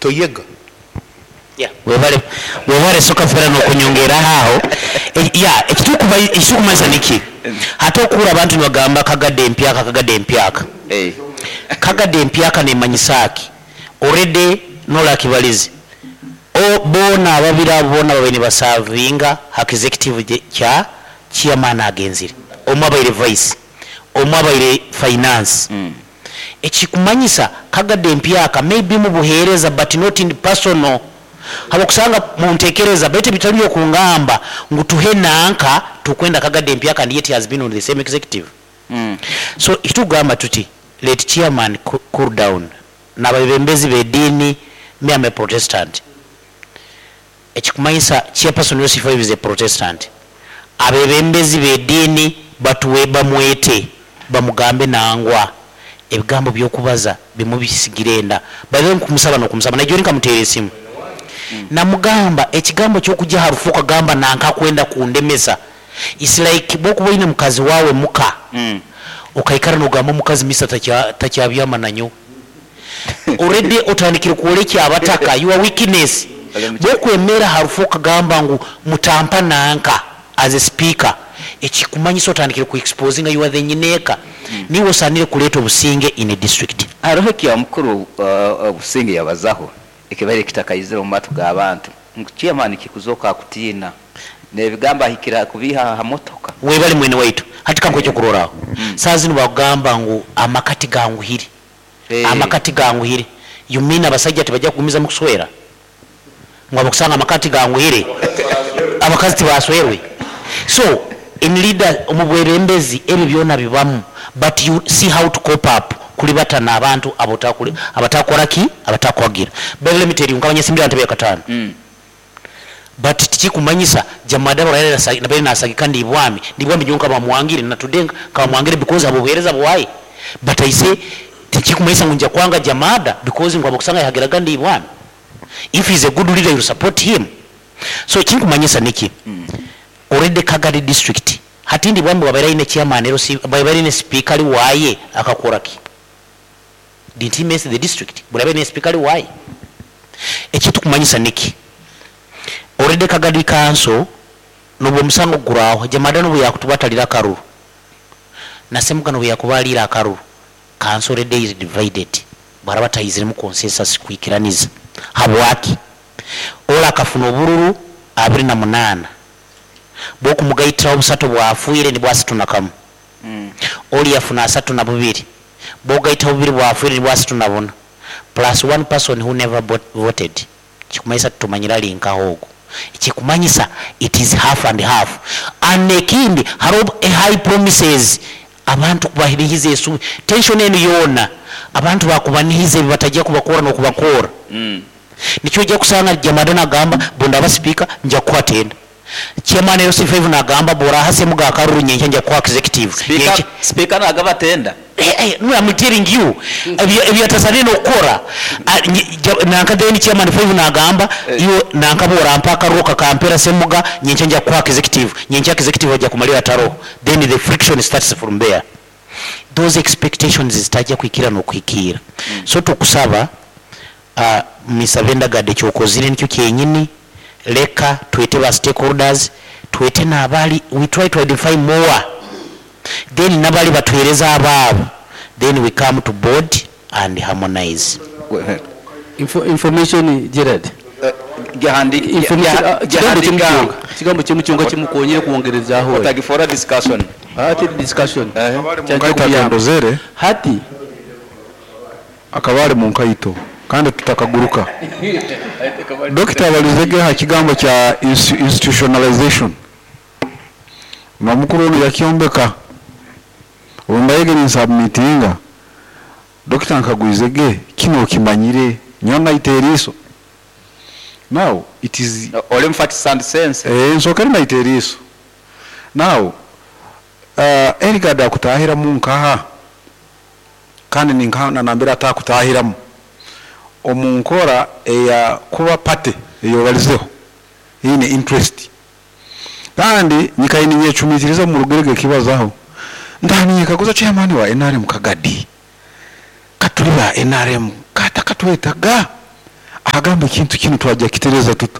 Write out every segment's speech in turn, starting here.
Toyega. Webale webale Sokafera nokunyongeraho aho. Ya ekitukuba ekitukumanyisa niki? Hati okuhura abantu nibagamba Kagadi empyaka Kagadi empyaka. Kagadi empyaka nemanyisa ki? Already Nola akibalize. O boona ababiri abo boona babaire nibasavinga ha executive kya chairman agenzire. Omwe abaire vice, omwe abaire finance. Ekikumanyisa Kagadi empyaka may be mubuhereza but not in personal habwokusanga muntekereza baitu ebitali byokungamba ngu tuhe nanka tukwenda Kagadi empyaka and yet he has been on the same executive. So ekitukugamba tuti let chairman cool down nabebembezi bediini me am a protestant ekikumanyisa chairperson LC5 is a protestant abebembezi bediini batuwe bamwete bamugambe nangwa ebigambo byokubaza bimwe bisigire enda by the way nkumusaba nokumusaba naijo nkamuteera esimu namugamba ekigambo kyokugya harufu okagamba nanka akwenda kundemesa its like bwokuba oyine mukazi wawe muka okaikara nogamba omukazi Mister takyabyama nanyowe already otandikire kworekya abataka your weakness bwokwemera harufu okagamba ngu mutampa nanka as a speaker ekikumanyisa otandikire ku exposinga you are the nyineeka niiwe osanire kureeta obusinge in a district. Haroho ekya mukuru Businge yabazaho ekibaire kitakaizire omu matu g'abantu ngu chairman kikuzooka akutiina n'ebigambo ahikire ha kubiiha ha motoka. Webale mwene waitu. Hati kankuhe ekyokurorraho. Saaha zinu bakugamba ngu amaka tiganguhire. Amaka tiganguhire. You mean abasaija tibajja kugumizamu kuswera? Ngu habwokusanga amaka tiganguhire, abakazi tibaswerwe? So in leader, omu bwebembezi ebyo byona bibamu but you see how to cope up kulibata n'abantu abatakukora ki? Abatakukuhagira. By the way let me tell you, nkaba nyesimbire aha ntebe ya kataano but tikikumanyisa Jamada nabaire nasagika Ndibwami, Ndibwami nyowe nkaba mwangire na today nkaba mwangire because habw'obuheereza bwaye but I say tikikumanyisa ngu nija kwanga Jamada because ngu habwokusanga yahagiraga Ndibwami. If he is a good leader you will support him. So ekinkumanyisa niki, already Kagadi district hati Ndibwami bwabaire aine chairman LC bwabaire aine sipiika ari waaye akakora ki? Didn't he mess the district? Buri abaire aine sipiika ari waaye. Ekitukumanyisa niki, already Kagadi council nobu omusango gurahwa, Jamada nobu yakutuba atarire akaruru, na Semuga nobu yakuba ariire akaruru, Council already is divided bwaraba atayiziremu consensus kwikiraniza habwaki ori akafuna obururu 28 bwokumugaitiraho busatu obwafwire nibwo 31 ori yafuna 32 bwogaitaho bubiri bwafwire nibwo 34 plus one person who never voted Ekikumanyisa titumanyire ari nkaha ogu. Ekikumanyisa it is half and half and ekindi hariho high promises abantu kubanihiza esuubi tension enu yoona abantu bakubanihiza ebi batajya kubakora nokubakora. Nikyo ojya kusanga Jamada nagamba bundaba speaker nja kukuha tenda. Chairman LC5 nagamba bworaha Semuga akaruru nyenkya nja kukuha executive. Speaker, Nyenkya. Speaker nagaba tenda. Eh, eh, no, I'm telling you ebyo ebyatasaniire nokukora ah, nye- ja- nanka then chairman 5 nagamba iwe nanka bworampa akaruru okakampera Semuga nyenkya nja kukuha executive nyenkya executive aja kumalira ataroho then the friction starts from there those expectations zitajya kuhikira nokuhikiira so tukusaba Mister Bendagadi ekyokozire nikyo kyenyini, leka twete ba stakeholders, twete nabali, we try to identify more then nabali batuhereze abaabo then we come to board and harmonize. Information Gerald. Kigambo kimu kyonka, kigambo kimu kyonka kimukonyire kwongerezaaho. Otagifoora discussion. Teri discussion. Akaba ari munkaito atondozere. Hati. Akaba ari munkaito kandi tutakaguruka. Dokita abalizege aha kigambo kya institutionalization. Nomukuru onu yakyombeka. Obu mbayege ninsubmitinga, dokita ankagwizege, kinu okimanyire? Nyowe naita eriiso. Now it is. Oli mu facts and sense. Eeh nsookere naita eriiso. Now Eligard akutaahiramu nkaha? Kandi ninkaha na nambere atakutaahiramu omu nkora eya kuba party eyi obalizeho eyine interest. Kandi nyikaire ninyecumitiriza omu rugero ekibazaho, ntaaha ninyekaguza chairman wa nrm Kagadi, ka turi ba nrm ka atakatwetaga? Twagamba ekintu kinu twajja kukitereza tuta?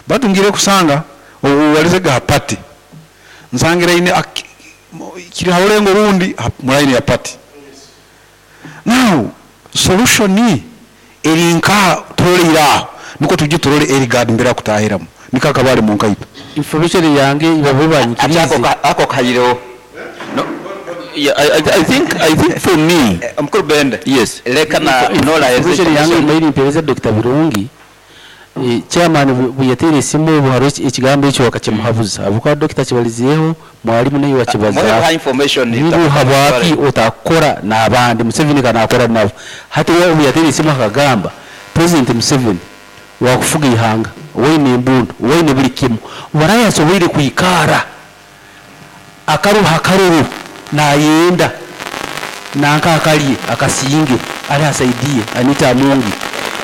Baitu ngiire kusanga obu walizege ha party, nsangire aine kiri ha rulengo rundi mu line ya party. Now solution eri nkaha turoleire aho nukwo twije turole Eligard mbere akutahiramu nikwo akaba ali munkaito. Information yange ibabe Ati banyikiriize. ako kahireho. No, yeah, I think for me, Omukuru Bende. Yes. Leka na Nola Information yange mbaire nimpereza Dokita Birungi, chairman buyateire esimu obu hariho ekigambo ekyo bakakimuhabuza ahabw'okuba Dokita akibarizeeho, mwalimu naiwe wakibazaaho. Information Ngu habwaki otakukora n'abandi, Museveni ka nakora nabo. Hati we obu yateire esimu akagamba, President Museveni wakufuga eihanga, waine embundu, waine buri kimwe, waraye asoboire kwikara akaruha akaruru nayenda nanka akarye akasinge ari asaidie Anita Amongi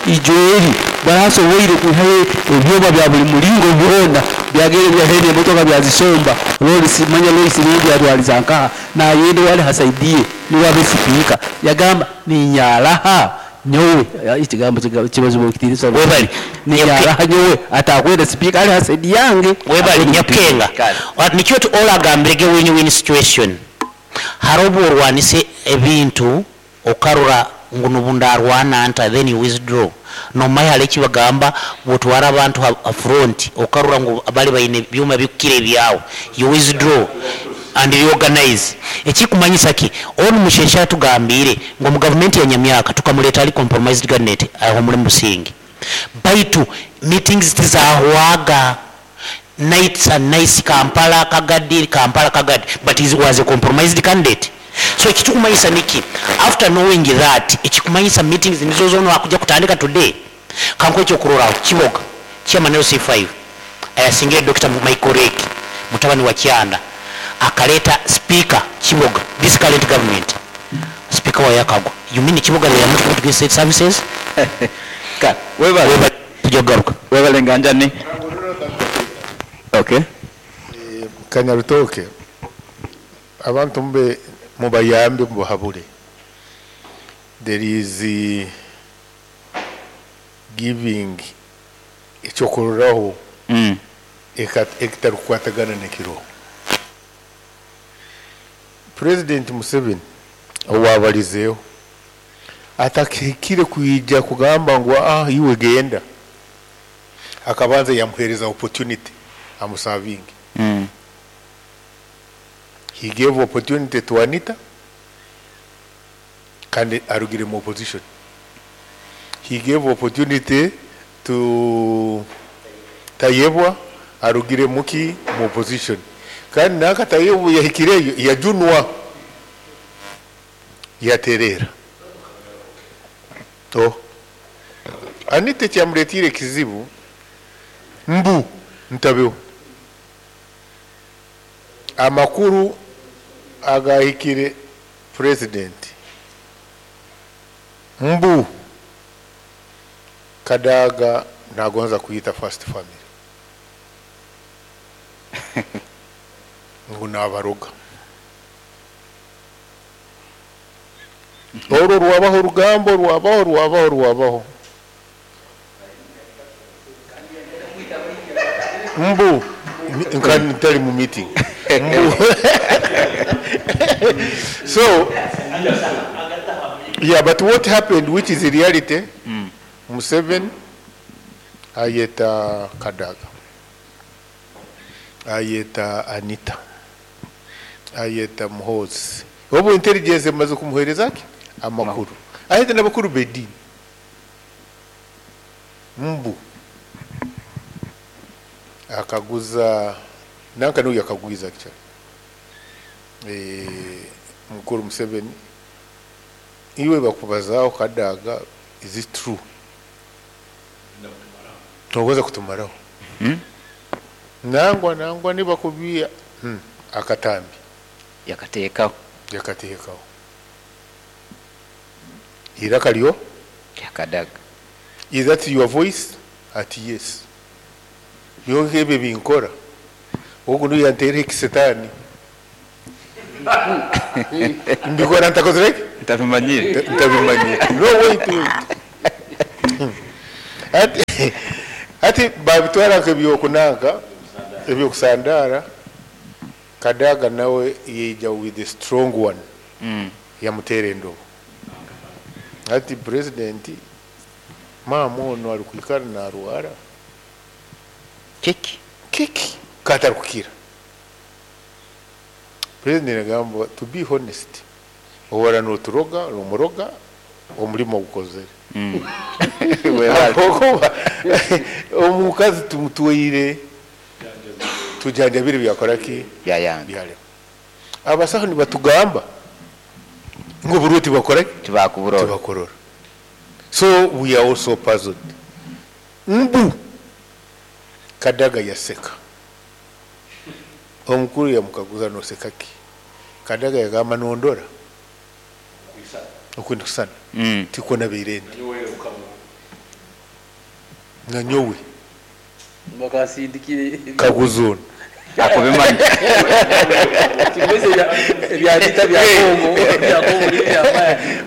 ijo eri barasoboire kwihayo ebyoba bya buri muringo byona byagere byahene emotoka byazisomba Loris manya Loris rindi yatwariza nkaha nayenda wali hasaidie niwe abe sipiika yagamba ninyaraha nyowe ekigambo kibazo kitiinisa Webale. ninyaraha nyowe atakwenda sipiika ali hasaidi yange. Webale Nyakukenga. Nikyo tu olagambirege win win situation. Hariho obu orwanise ebintu okarora ngu nubu ndarwana nta, then you withdraw. Nomanya hariho ekibagamba bwotwara abantu ha front okarora ngu bari baine ebyoma bikukira ebyawe, you withdraw and reorganize. Ekikumanyisa ki onu Musheshe atugambire ngu omu gavumenti ya Nyamyaka tukamureta ari compromised cabinet aho muri Musingi, baitu meetings tizahwaga, nights and nights, Kampala Kagadi, Kampala Kagadi, but he was a compromised candidate. So ekikumanyisa niki after knowing that, ekikumanyisa meetings nizo zono akuja kutandika today. Kanko ekyokuroraho Kiboga chairman LC5 ayasingire Dr. Michael Rake mutabani wa Kyanda akaleta speaker Kiboga, this current government speaker wa yakagwa. You mean Kiboga they are not going to get state services? Ka, webale. Webale tujja kugaruka. Webale nganjani. Okay. Kanyarutoke abantu mbe mubayambe mubahabure. There is giving ekyokurorraho ekitarukukwatagana n'ekiro. President Museveni owabalizeeho atakihikire kwija kugamba ngu iwe genda, akabanza yamuhereza opportunity amusavinge. He gave opportunity to Anita kandi arugire mu opposition. He gave opportunity to Tayebwa arugire muki mu opposition, kandi naka Tayebwa yahikireyo yajunwa yaterera. To Anita kyamuletire kizibu mbu ntabeho amakuru agahikire president mbu Kadaga nagonza kuyita first family ngu nabaroga. Orwo rwabaho rugambo rwabaho rwabaho rwabaho mbu ntari mu meeting mbu. So yeah, but what happened, which is the reality, Museveni ayeta Kadaga, ayeta Anita, ayeta Muhoozi. Obu intelligence emaze kumuhereza ki amakuru, ayeta n'abakuru b'edini mbu akaguza nanka n'uyu akagwiza actually. Mukuru Museveni iwe bakubazaho Kadaga, is it true? Togoza kutumaraho. Nangwa nibakubia akatambi yakateekaho yakateekaho iraka lyo Yakadaga. Is that your voice? Ati yes. Byonka ebyo binkora ogu niyo yanteera ekisetani mbikora ntakozire ki? Ntabimanyire. Ntabimanyire. No, wait, wait. Hati hati babitwara nk'ebyokunanka ebyokusandaara. Kadaga nawe yaija with a strong one yamuteera endobo. Hati president maama onu arikwikara narwara. Kiki? Kiki katarikukira. President agamba, to be honest, ohora noturoga, nomuroga, omurimo ogukozere. Ahabw'okuba omukazi tumutwaire tujanjabire byakora ki? Byayanga. Byarema. Abasaho nibatugamba ngu oburwa tibakora ki? Tibakuburora. Tibakurora. So we are also puzzled. Mbu Kadaga yaseka. Omukuru yamukaguza, noseka ki? Kadaga yagamba, nondora oku ndikusana, tikwo nabaire ndi. Nanyowe Bakasindikire. Kaguza onu. Akubimanya. Kimeze ebya vita bya Congo, bya Congo ni by'amaani.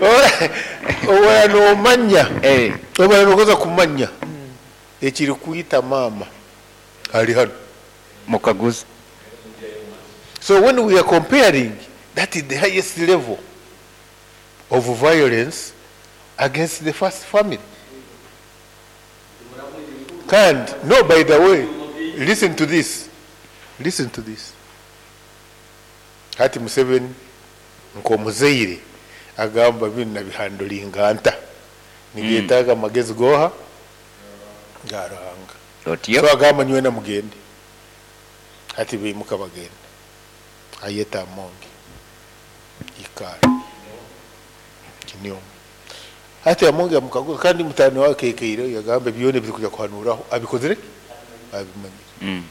Obora nomanya, obora nokoza kumanya ekiri kwita maama ari hanu. Mukaguza. So when we are comparing, that is the highest level of violence against the first family. And no, by the way, listen to this. Listen to this. Hati Museveni nk'omuzaire agamba binu nabihandulinga nta nibyetaaga amagezi goha ga Ruhanga. Otyo. So agamba nywena mugende. Hati baimuka bagenda. Ayeta Amongi. Ikara. Kinyomo. Hati Amongi amukaguza kandi mutani wawe kekeire yagamba byona ebiri kuja kuhanuraho abikozire ki? Abimanyire.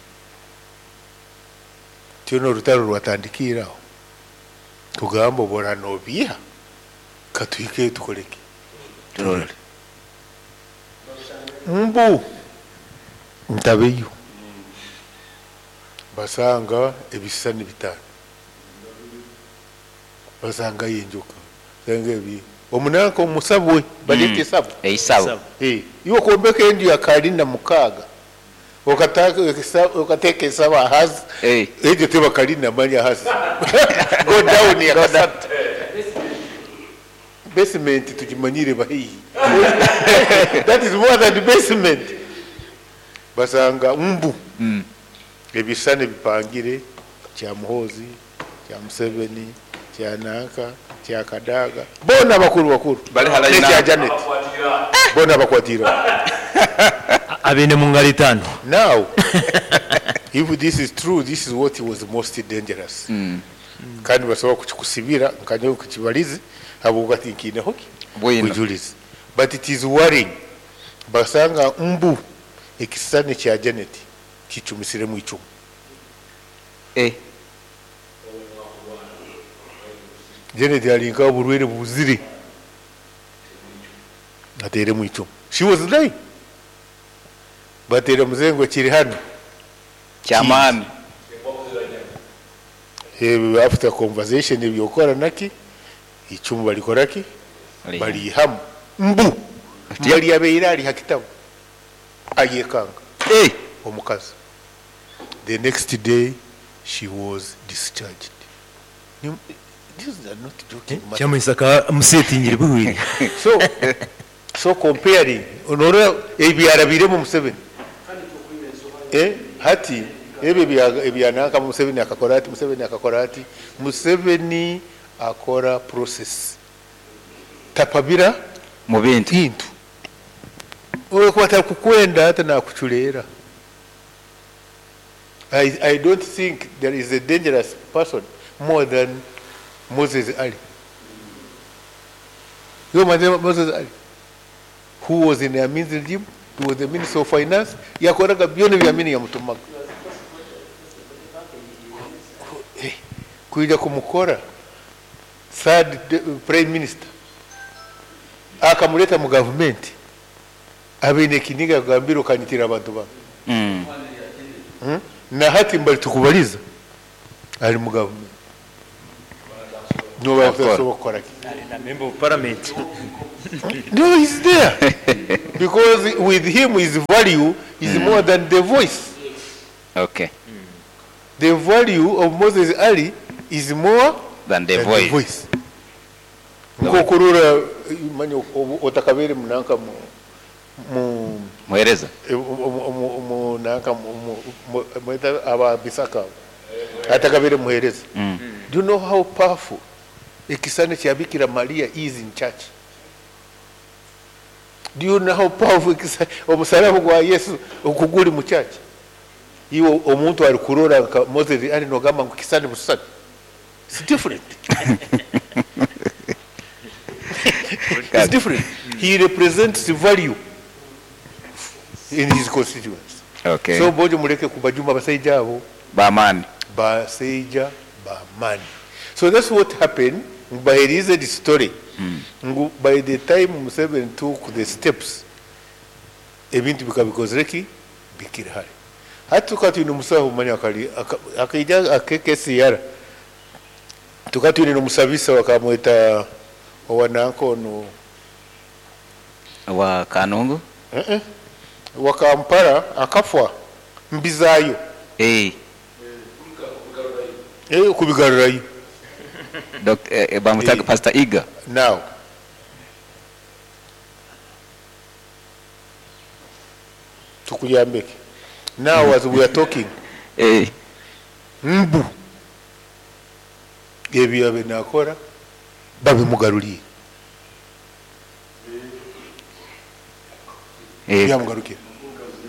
Tino orutaro rwatandikire aho. Tugamba obora nobiha katuhike tukoreke. Turore. Mbu ntabeyo. Basanga ebisani bitano. Basanga yenjoka. Basanga ebi. Omunanka omusabwe balete sabo. Eisabo. Iwe kuombeka enju ya kalina 6. Okataka okateka esaba hasi. Ejo teba kalina manya hasi. Go down ya kasatu. Basement tujimanyire bahihi. That is more than the basement. Basanga mbu. Ebisane bipangire kya Muhoozi, kya Museveni, kya Nanka, kya Kadaga. Bona bakuru bakuru. Bali halali Nekya na- Janet. Bona bakwatira. Abene mu ngalo etaano. Now, if this is true, this is what was most dangerous. Kandi basobola kukikusibira nkanyo kukibalizi habwokuba tinkiineho ki? Bwino. Bujulizi. But it is worrying. Basanga mbu ekisane kya Janet kicumisiremu icumu. Janet alinka oburwaire buzire. Ateeremu icumu. She was lying. Bateera muzengo kiri hano. Kyamaani. After conversation ebyokora naki icumu balikora ki? Balihamu. Mbu. Yali yabeire ali hakitabu. Ayekanga. Omukazi. The next day she was discharged. These are not joking matters. Kyamuhisaka musetingire buhwire. So comparing onora ebyarabiremu Museveni. Hati ebyo ebyananka Museveni akakora ati, Museveni akakora ati, Museveni akora process. Tapabira mu bintu. Bintu. Oyo kwata kukwenda hata nakuchuleera. I don't think there is a dangerous person more than Moses Ali. You know Moses Ali, who was in Amin's regime, he was the Minister of Finance, yakoraga byona bya Amini yamutumaga. Kuija kumukora third prime minister akamuleta mu government abine kiniga kugambira ukanyitira abantu ba. Na hati mbali tukubaliza ali mu government. Noba Akora. otasobola kukora ki? Ali na member of parliament. No, he's there. Because with him, his value is more than the voice. Okay. The value of Moses Ali is more Than the than voice. the voice. Nkokurora manya otakabere munanka mu mu Muhereza. mu nanka mu mweta aba bisaka atakabere muhereza. Do you know how powerful ekisane kya Bikira Maria is in church? Do you know how powerful omusalaba gwa Yesu okuguli mu church? Iwe omuntu ari kurora nka Moses ari nogamba ngu kisane busani. It's different. It's different. He represents the value in his constituents. Okay. So bojo muleke kubajuma basaija abo. Bamani. Basaija bamani. So that's what happened. Baherize the story. Ngu by the time Museveni took the steps, ebintu bikabikozere ki bikiri hare. Hati tukaba twine omusaho manya akari akaija akekesiyara. Tukaba twine n'omusabisa bakamweta owa nanka onu Wa Kanungu? Wa Kampala akafwa mbizayo. Kubigarurayo. Bamutaga Pastor Iga. Now. Tukuyambeke. Now as we are talking. Mbu. Ebyo abe nakora babimugaruriye. Byamugarukira.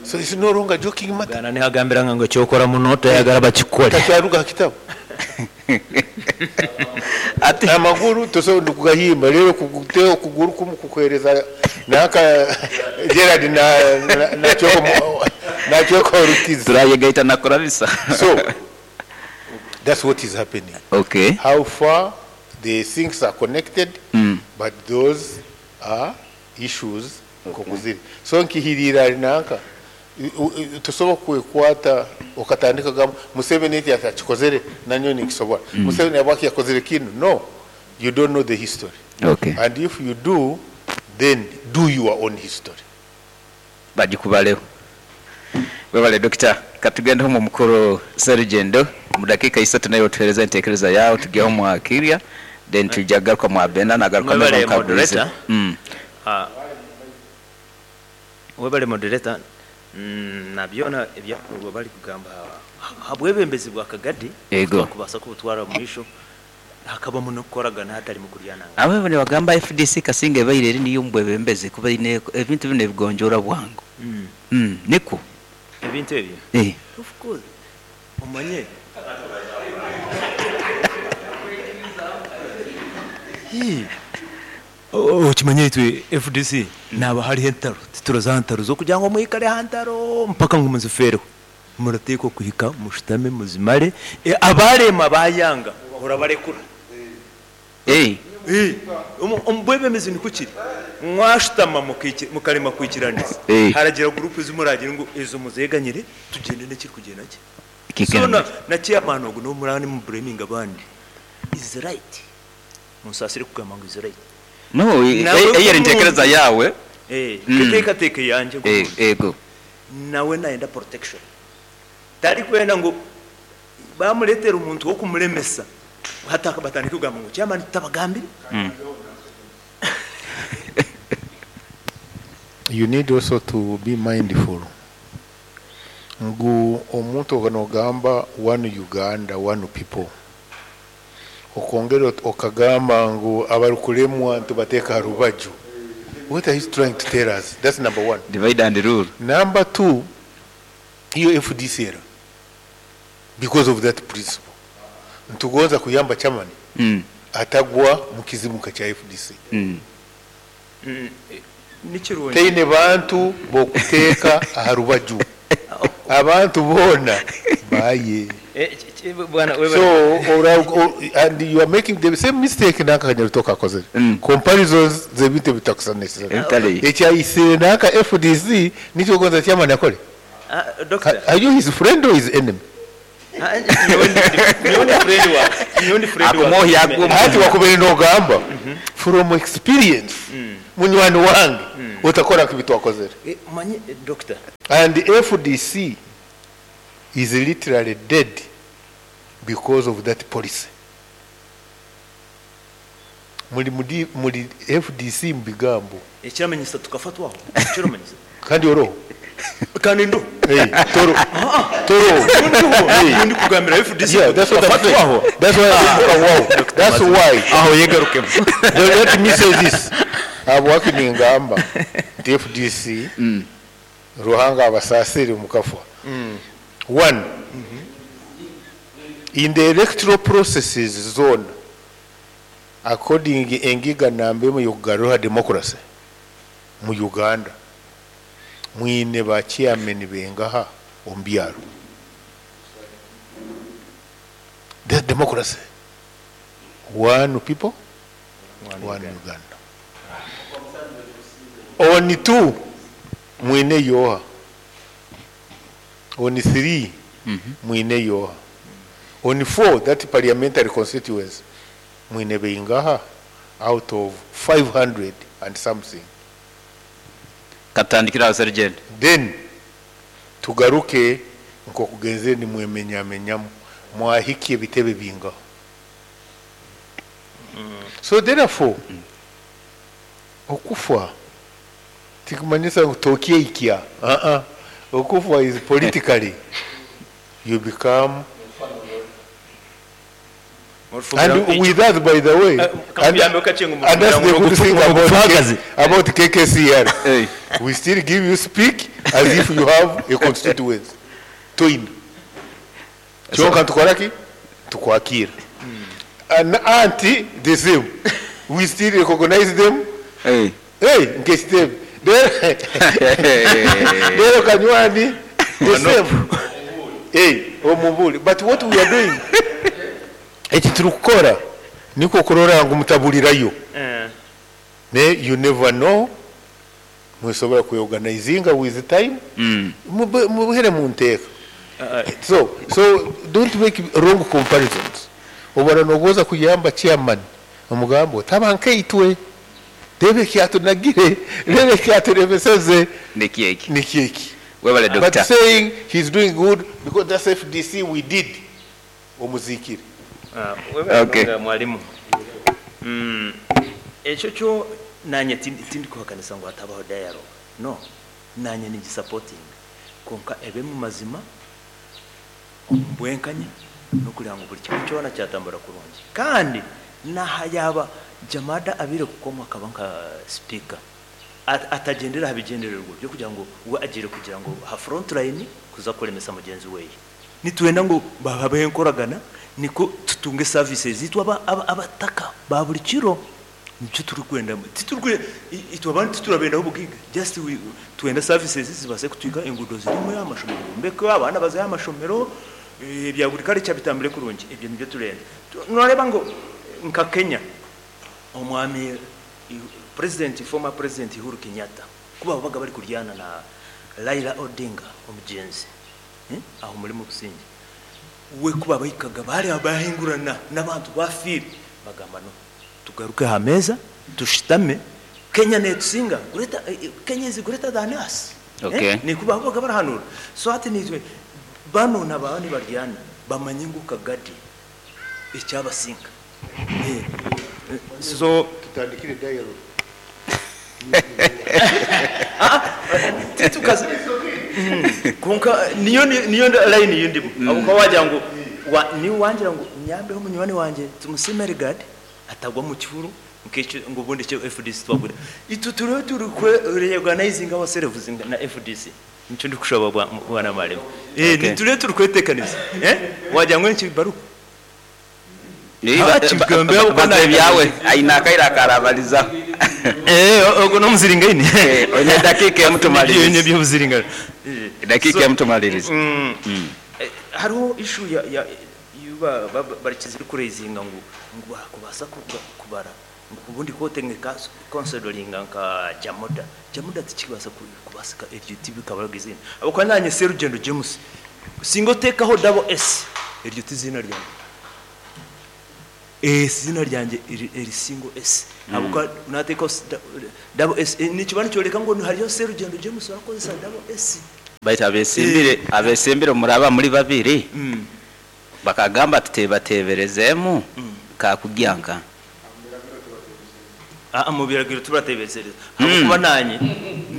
So it's no longer joking matter. Bwana nihagambira ngo kyokora muno tayagala bakikole. Takyaruga kitabo. Ati amaguru tosobola kugahimba rero kuguteo kuguru kumu kukuhereza naka Gerard na na choko na choko rukizi. Turayegaita nakora bisa. So that's what is happening. Okay. How far the things are connected, but those are issues kokuziri. So nkihirira nanka tusobola kwekwata okatandika gamba Museveni eti atakikozere nanyo nikisobola. Museveni abaki yakozere kinu. No, you don't know the history. Okay. And if you do, then do your own history. Bagikubaleho. Webale doctor, katugende mu mukuru Serugendo mu dakika 3 nayo tuhereza entekereza yawe tugeho mu akiria then tujagaruka mu Abena nagaruka Mwebale mu Kabulizi. moderator. Webale moderator. Nabyona ebyakorwa bari kugamba habwebembezi bwa Kagadi kubasa kubutwara mu misho hakabamu no kukoragana hatari mu kuryananga. Abo ne bagamba FDC Kasinge baire eri niyo mbwebembezi kuba ine ebintu bine bigonjora bwangu. Niko ebintu ebyo. Of course. Omanye. Okimanye itwe FDC naba hari entaro tituroza ntaro zo kugira ngo mwikare hantaro mpaka ngo muzifereho murateko kuhika mushitame muzimare abarema bayanga urabarekura. Ombwebemezi ni kukiri mwashitama mukarema kwikiraniza haragira group zimuragira ngo ezo muzeganyire tugende n'ekiri kugenda ki so na chairman ogo no murani mu blaming abandi is right musasire kugamba ngo is right. No, eyeri ntekereza yawe. Keteka teke yanje ego. Nawe naenda protection. Tari kwenda ngo bamuletera umuntu wo kumulemesa. Hataka batandika kugamba ngo chairman tabagambire. You need also to be mindful. Ngu omuntu oganogamba one Uganda, one people. Okongera okagamba ngu abarukulemwa ntubateka rubaju. What are you trying to tell us? That's number one. Divide and rule. Number two, iyo FDC era because of that principle. Ntugonza kuyamba chamani. Atagwa mukizimuka cha FDC. Teine bantu bokuteka aharubaju. Abantu bona baye. So and you are making the same mistake naka kanyarutoka akozere. Comparisons zebintu bitakusanisa. Ekyayisire naka FDC nicyo gonza chairman akore. Doctor, are you his friend or his enemy? Nyowe ndi friend waawe. Nyowe ndi friend waawe. Akumwohya agwe omu Hati wakubaire nogamba from experience munywani wange otakora nka ebitwakozere. Omanye doctor. And FDC is literally dead because of that policy. Muri muri muri FDC mu bigambo. Ekiramanyisa tukafatwaho. Ekiramanyisa. Kandi oroho. Kandi ndo. Hey, toro. Toro. Hey. Ndi kugambira FDC. Yeah, that's what I'm saying. That's why I'm wow. That's why. Aho yegarukemo. Let me say this. Habwaki ningamba nti FDC Ruhanga abasasire mukafwa. One, in the electoral processes zone, according engiga namba emwe yokugaruha democracy mu Uganda, mwine ba chairman bengaha omu byaro. That's democracy. One people, one Uganda. On two, mwine yoha. On three, mwine yoha. On four, that parliamentary constituency, mwine beingaha out of 500 and something. Katandikira aho Sergeant. Then tugaruke nkokugenze nimwemenyamenyamu mwahikie bitebe bingaho. So therefore, okufa tikumanyisa ngu tokyeikia. Okufa is politically you become. And with that, by the way, and that's the good thing about KKCR. Hey. We still give you speak as if you have a constituency. Twin. Kyonka tukoraki? Tukwakira. And auntie, the same. We still recognize them. Hey. Hey, nkesitebe. Lero Kanywani, the same. Hey, omubuli. But what we are doing, eki turikukora niko kurora ngu mutabulirayo. Ne you never know, musobora kweorganizinga with time. Mubuhere mu nteeka. So don't make wrong comparisons. Obona nogoza kuyamba chairman omugambo taba nkeitwe rebe kyatunagire rebe kyaturebeseze Nikieki. nikieki. Webale But doctor. saying he's doing good because that's FDC we did. Omuzikire. Okay. Mwalimu. Ekyo kyo nanye tindi kuhakanisa ngu hatabaho dialogue. No. Nanye ningi supporting. Konka ebe mu mazima omu bwenkanya n'okugira ngu buri kimwe kyona kyatambura kurungi. Kandi naha yaba Jamada abire kukomwa akaba nka speaker atagendera aha bigendererwa byo kugira ngo we agire kugira ngo ha front line kuza kuremesa mugenzi weye. Nitwenda ngo bababe enkoragana niko tutunge services zitwa abataka ba buri kiro. Nicyo turi kwenda titurwe itwa abantu titurabenda ubugiga just we twenda services zibase kutwika engudo zirimo amashomero mbeko abana bazaye amashomero bya buri kare cyabitambire kurungi ibyo nibyo turenda. Noreba ngo nka Kenya omwami president former president Uhuru Kenyatta kuba babaga bari kuryana na Raila Odinga omugenzi aho muri mu businge we kuba bayikaga bari abahingurana n'abantu bafire bagamba no tugaruke ha meza tushitame Kenya netsinga greater Kenya is greater than us. Okay. Ni kuba babaga barahanura so ati nitwe bano nabandi baryana bamanye ngo kagadi icyabasinga. So tutandikire dialogue. Tukaze konka niyo niyo line yindimo abo wagira ngo ni wangira ngo nyambeho munywani wanje tumusimere guard atagwa mu kihuru nkecho ngo ubundi cyo FDC twagura itu turiho turi reorganizing ourselves na FDC nicyo ndi kushaba bwana maremo ni turiho turi kwetekaniza wagira ngo nki baruko Baze byawe aina kaira karabaliza ogo no muziringaini onye dakika ya mtu maliriza Ibyo muziringa dakika ya mtu maliriza. Hariho issue ya yuba barikize kurezinga ngo ngo kubasa kubara ngo ubundi kote nka considering nka Jamoda Jamoda tikibasa kubasika iryo TV kabaraga izina abo kwa nanye Serugendo James singo tekaho double S Eryo ti ziina ryangye. Eiziina ryangye eri single S ahabw'okuba naateekaho double S nikiba nikyoreka ngu hariyo Serugendo James orikukozesa double S. Baitu abeesimbire abeesimbire obu muraaba muri babiri, bakagamba tuteebateeberezeemu, kaakugya nka. Aa, omu biragiro tibarateeberezeereza ahabw'okuba naanye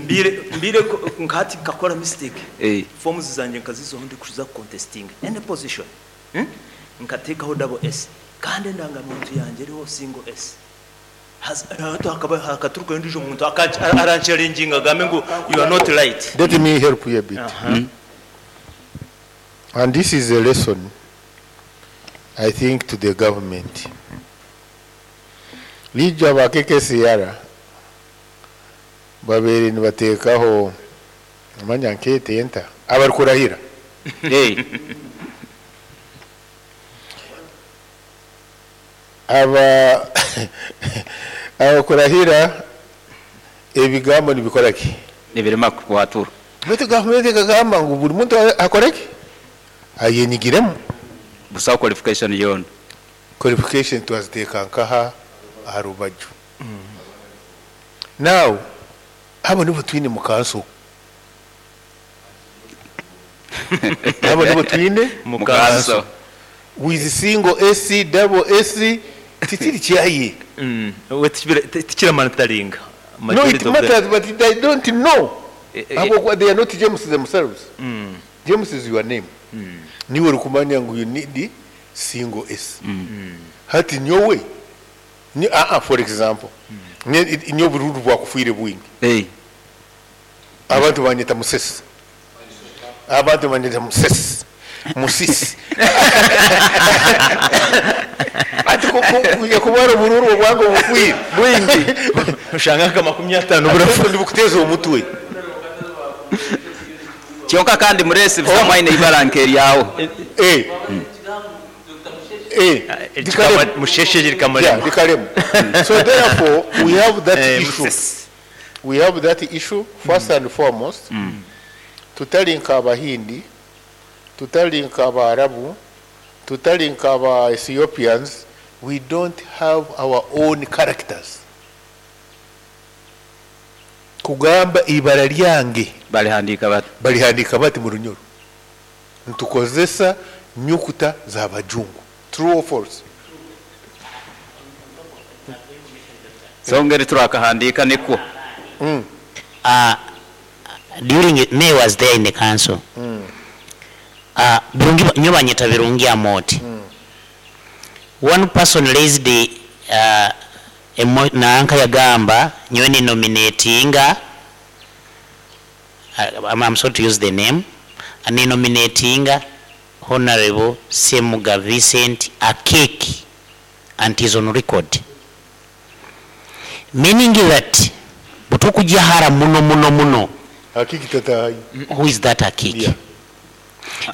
mbaire mbaire nka hati nkakora mistake, forms zangye nkaziizaho ndikuza kukontesitinga any position. Nkateekaho double S kandi endangamuntu yangye eriho single S. Haza hati hakaba hakaturukayo ondiijo muntu aranchallenginga agambe ngu you are not right. Let me help you a bit. And this is a lesson I think to the government. Lijo aba KKCR babaire nibateekaho manya nkeete enta abarikurahira. Aba abakurahira ebigambo nibikora ki? Nibirema kukwaturwa. Beitu gavumenti ekagamba ngu buri muntu akore ki? Ayenyigiremu. Busaho qualification yoona. Qualification twaziteeka nkaha? Aha rubaju. Now abo nibo twine mu kanso. Abo nibo twine Mu kanso. With single S, double S, tikiri kyaye. We tikiramataringa. No, it matters but they don't know. Ahabw'okuba they are not James themselves. James is your name. Niiwe orikumanya ngu you need single S. Hati nyowe, aa for example, nyowe obururu bwakufwire bwingi. Abantu banyeta Musesi. Abantu banyeta Musesi. Musisi. Hati ku- ku- kuba obururu obwange obufwire bwingi. Oshanga nka 50 burafu. Nibukuteeza omutwe. Kyonka kandi muresi busa mwaine ibara nk'eryawe. Eh. Eh. Rikaremu. Musheshe Yeah, rikaremu. So therefore we have that issue. We have that issue first and foremost. Tutari nk'Abahindi, tutari nk'Abaarabu, tutari nk'aba Ethiopians, we don't have our own characters. Kugamba ibara ryange balihandiika bati. Balihandiika bati mu Runyoro. Nitukozesa nyukuta z'abajungu. True or false? So ngeri turakahandiika nikwo. During May was there in the council. Birungi nyo banyeta Birungi Amoti. One person raised the nanka yagamba nyowe ni nominatinga, I'm sorry to use the name, ni nominatinga Honorable Semuga Vincent Akeki, and is on record. Meaning that butukujja hara muno muno muno. Akiki tatahayi. Who is that Akiki? Yeah.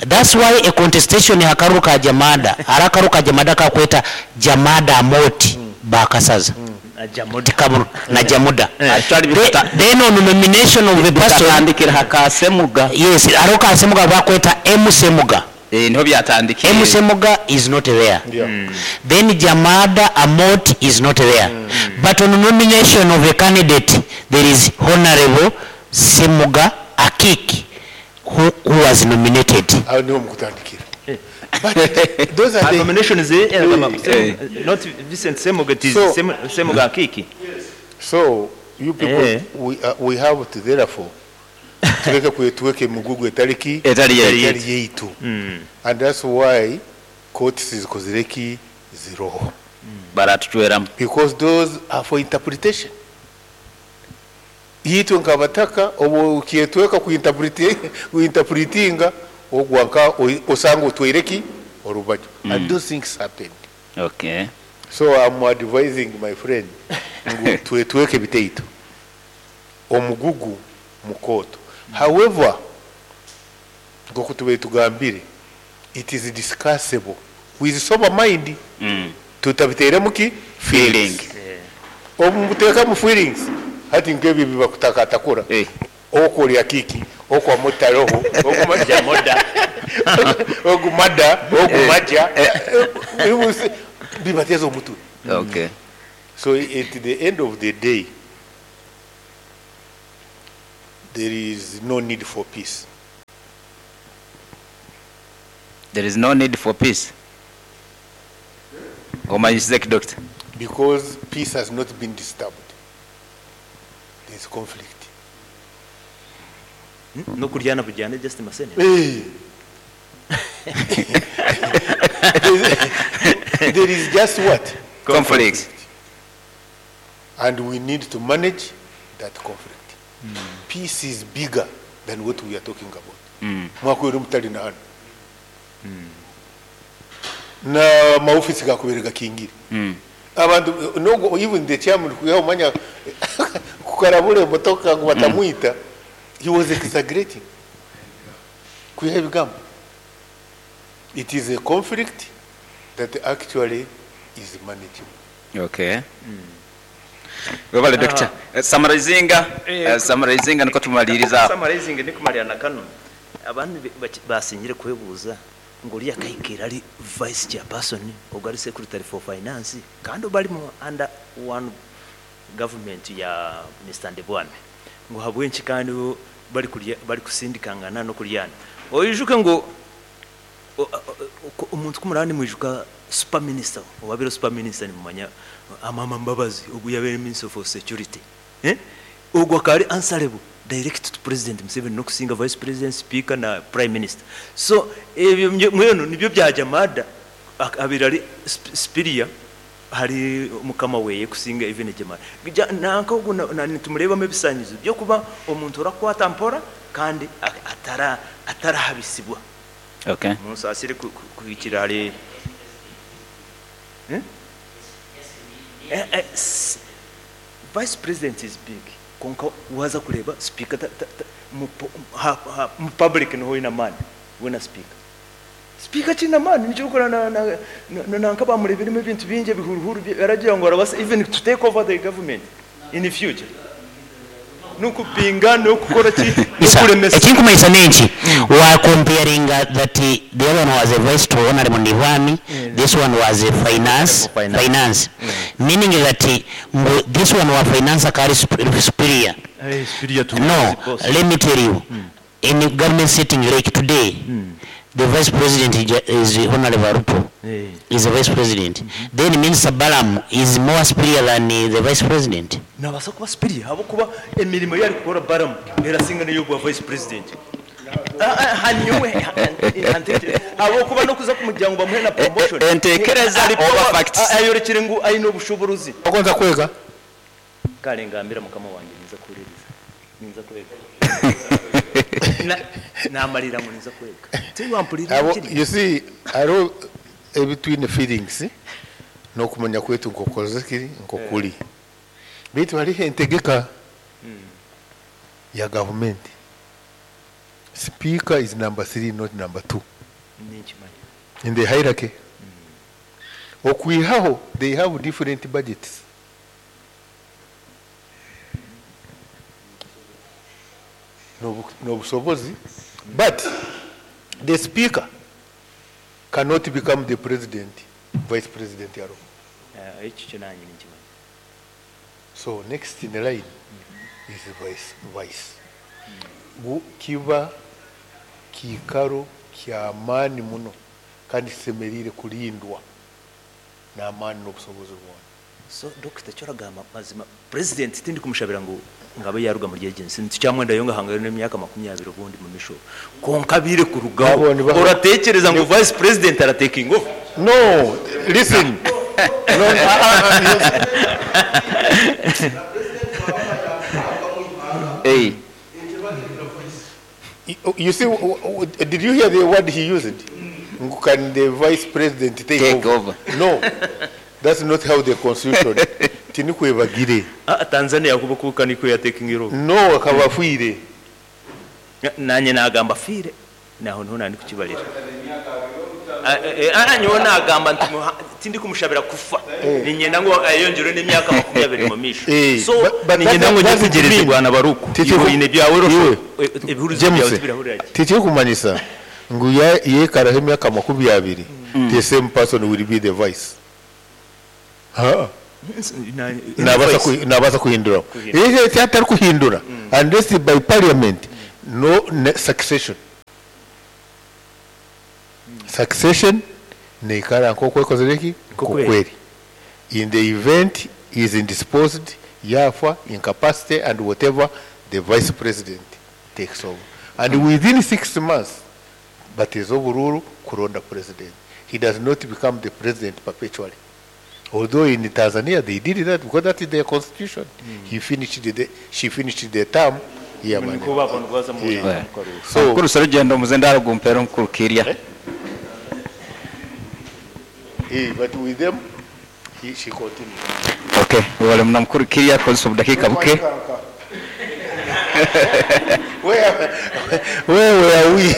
That's why a contestation hakaru ka Jamada, harakaru ka Jamada ka kweta Jamada Amoti bakasaza. Na Jamuda. Tikamu, na Jamuda. Actually, Then on nomination of the person, bitatandikira hakasemuga. Yes, aroka Semuga bakweta M Semuga. Niho byatandikire. M Semuga is not there. Then Jamada Amoti is not there. But on nomination of a candidate, there is Honorable Semuga Akiki who was nominated. Aho niho mukutandikira. But those are the nomination is not Vincent Semuga, it is So Semuga Akiki. So you people, we have to therefore tureke kwetuweke mugugu etariki Etari yaitu. etari yaitu. And that's why courts zikozireki ziroho. Baratuchweramu. Because those are for interpretation. Itwe nkabataka obu kietweka kuinterpretinga ogwanka osanga otwereki orubaju. And those things happened. So I'm advising my friend ngu twetweke biteito. Omugugu mukoto. However, ngoku tube tugambire, it is discussable with sober mind. Tutabiteremu ki feeling. Omuteka mu feelings. Hati nkebi bibakutakatakura. Okolya kiki, okwa mutaroho, okwa jamoda. Ogu mada, ogu maja. Bibateeza omutwe. Okay. So at the end of the day, there is no need for peace. There is no need for peace. Omanyisize ki doctor? Because peace has not been disturbed. There is conflict. N'okuryana buryane just masene. Hey. There is just what? Conflict. And we need to manage that conflict. Peace is bigger than what we are talking about. Mwakwera mutali na hano. Na maofisi gakubere gakingire. Abantu no even the chairman kuyaho manya kukarabule emotoka ngu batamwita. He was exaggerating. Kuyaho ebigambo. It is a conflict that actually is manageable. Okay. Webale doctor. Summarizinga, summarizinga niko tumaliriza aho. Summarizing nikumarira na kano. Abantu basingire kwebuuza ngu oriya akahikira ari vice chairperson ogwo ari secretary for finance kandi bari mu under one government ya Mr. Ndebwame ngu habwenki kandi bo bari kurya bari kusindikangana no kuryana. Oyijuke ngu omuntu kumurani mwijuka super minister owabire super minister nimumanya Amama Mbabazi ogu yabere minister for security. Ogwo akaba ari answerable direct to President Museveni nokusinga vice president, speaker na prime minister. So ebyo mwenu nibyo byajya mada abiri ari superior hari mukama weye kusinga even Jamada. Nanka ogu nitumurebamu ebisanyizo byo kuba omuntu orakwata mpora kandi atarahabisibwa. Okay. Munsasire kuhikira ari Vice president is big. Konka waza kureba speaker ta, ta, ta, mu, ha, ha, mu public niho ina mani wena speaker. Speaker kina mani nicyo gukora na na na nanka bamureberemo ebintu bingi ebihuruhuru aragira ngo arabasa even to take over the government in the future. Nukupinga nokukora ki nokuremesa. Ekinkumanyisa nenki wa comparing that the other one was a vice to Honorable Ndibwami, this one was a finance, Finance. finance. Meaning that this one was finance akari superior. Hey, superior to No, the boss. let me tell you, in the government sitting like today, the vice president is Honorable Arupo. Is the vice president. Then Minister Balaam is more superior than the vice president. Nabasa kuba superior habo kuba emirimo yari kukora Balaam erasinga niyo bwa vice president. Hanyuwe habo kuba no kuza kumuryango bamuhe na promotion. Entekereza Ari over power, facts. Ayorekere ngu ayino obushobozi. Ogonza kwega? Kale ngambira mukama wanjye niza kuririza. Niza kwega. Namarira ngo niza kwega. Tiwampurira Abo, kiri. you see, hariho ebitwine feelings n'okumanya kwetu nkokoze kiri nkokuri. Beitu hariho entegeka ya gavumenti. Speaker is number 3, not number 2. Nikimanyi. In the hierarchy. Okwihaho, they have different budgets. N'obusobozi, but the speaker cannot become the president, vice president yaro. Ekyo kyo nange nikimanyi. So next in the line is vice. Kiba kiikaro ky'amaani muno kandi kisemerire kulindwa n'amaani n'obusobozi bwona. So Dr. Choragamba mazima president tindi kumushabira ngu ngabe yaruga muri agency nticyamwenda yo ngahanga n'emyaka makumyabiri ubundi mu misho konka bire kurugaho. Abo ni ba- Uratekereza ngo vice president arataking over? No, listen. No, Hey. You see, did you hear the word he used? Can the vice president take, Take over? over? No, that's not how the constitution. Tinikwebagire. Tanzania kuba kuka niko ya taking over. No, akabafwire. Nanye nagamba fire. Naho nto nandi kukibarira. Nyowe nagamba nti tindi kumushabira kufa. Ninyenda ngo ayongere n'imyaka makumyabiri mu misho. So, But ninyenda that ngo doesn't nyetegereze mean Bwana Baruku. Titi Ibo ine byawe Iwe. rosho. Ebihurizo James, byawe tibirahurira ki? Titi kumanyisa Ngu yaikaraho emyaka 20, the same person will be the vice. Haa. Nabaasa kuhinduraho. Eki atarikuhindura unless by parliament no succession. Succession neikara nk'oku ekozire ki? Nk'oku eri. In the event he is indisposed, yaafa, incapacity and whatever, the vice president takes over. And within 6 months, bateeza oburuuru kuronda president. He does not become the president perpetually. Although in Tanzania they did that because that is their constitution. He finished the, she finished the term. Yeah, man. Niko babona baza mu mu So, Mukuru Serugendo, omuzendaro gumpera omukuru Kirya. But with them, she continued. Okay, webale muno mukuru Kirya kozesa obudakiika buke. Where were we?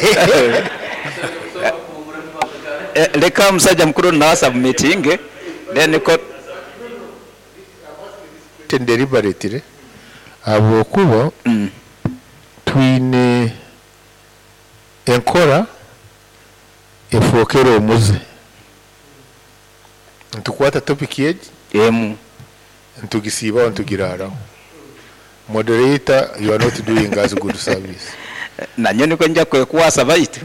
Leka omusajja mukuru nawe submitting then ko. Deliberately, habwokuba twine enkora efookere omuze, nitukwata topic egi emu ntugisiibaho ntugiraraho. Moderator, you are not doing us good service. Nanyo niko nja kwekuwasa baitu.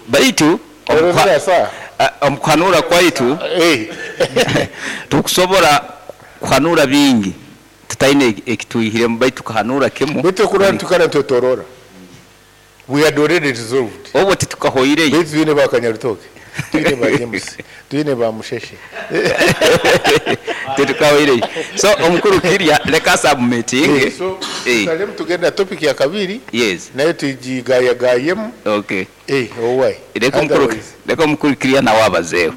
Baitu omukuhanura kwaitu tukusobora kuhanura bingi tutaine ekitwihiremu, baitu tukahanura kimu. Baitu kurora tukara nitwetorora, we had already resolved. Obwo titukahoireyo. Baitu twine ba Kanyarutoke, twine ba James, twine ba Musheshe. Titukahoireyo, so omukuru Kirya leka submitting. So tusalemu tugenda topic ya kabiri. Yes. Nayo tugigayagayemu. Okay. Owai. Leka omukuru, leka omukuru Kirya nawe abazeeho.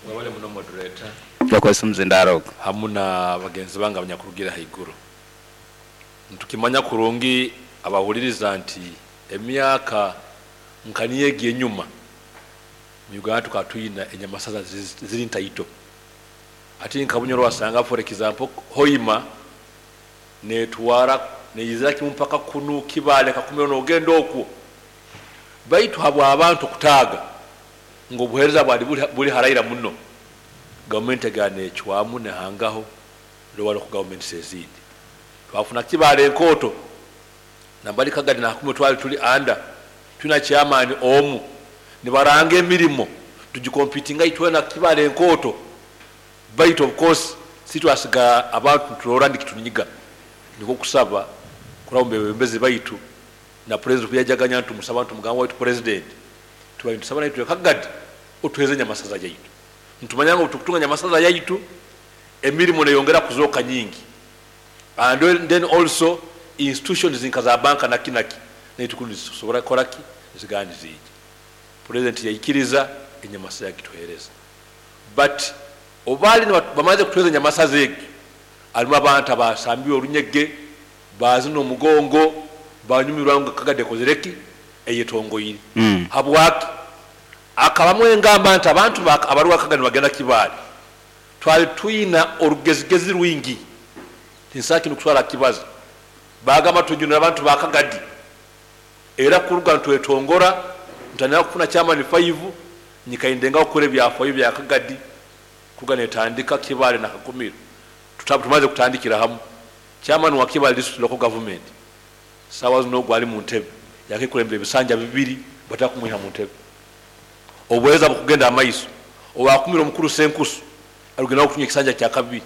Wabale muno, moderator. Bakozesa omuzindaro ogwo. Hamu na bagenzi bange abanyakurugira haiguru. Ntukimanya kurungi abahuliriza nti emyaka nkaniyo egi enyuma mu Uganda tukaba twina enyamasaza ziri ntaito, ati nka Bunyoro wasanga, for example, Hoima netwara neyizira kimu mpaka kunu Kibale, Kakumiro, nogenda okwo. Baitu habwa abantu kutaaga nga obuheereza bwali buli haraira muno, gavumenti egana ecwamu nehangaho lower local governments ezindi. Twafuna Kibale enkooto nambali Kagadi nakumwe twali tuli anda tulina chairman omu, nibaranga emirimo tugicompetinga itwena Kibale enkooto. Baitu of course sitwasiga abantu tulora ndikitunyiga, niko kusaba kuraba mubebembezi baitu na president kuyajaganya, ntumusaba ntumugamba waitu president, tubaye ntusaba naitwe Kagadi otuheze nyamasaza yaitu. Ntumanya ngu tukutunga nyamasaza yaitu emirimu neyongera kuzooka nyingi, and then also institutions nka za banka naki naki naitu kundi zisobora kukoraki zigandi ziija. President yaikiriza enyamasaza yagituhereza, but obaali bamaze kutuheza enyamasaza egi, alimu abantu abasambiwe orunyege bazina omugongo banyumirwa ngu Kagadi ekozereki eyetongoire. Habwaki akabamu engamba nti abantu abaruga Kagadi bagenda Kibaale, twali twina orugezigezi rwingi tinsaki nokutwara kibazo, bagamba tujunira abantu ba Kagadi. Era kuruga ntwetongora ntandika kufuna chairman 5 nyikaindenga okukora ebyafayo bya Kagadi kuruga netandika Kibaale na Kakumiro. Tumaze kutandikira hamu chairman wa Kibaale district local government sawa zino gwali mu ntebe yakikulembera ebisanja 2, batakumwiha mu ntebe, obuweereza bukugenda amaiso. Owakumira omukuru Senkusu arugenda okutunya ekisanja kya kabiri.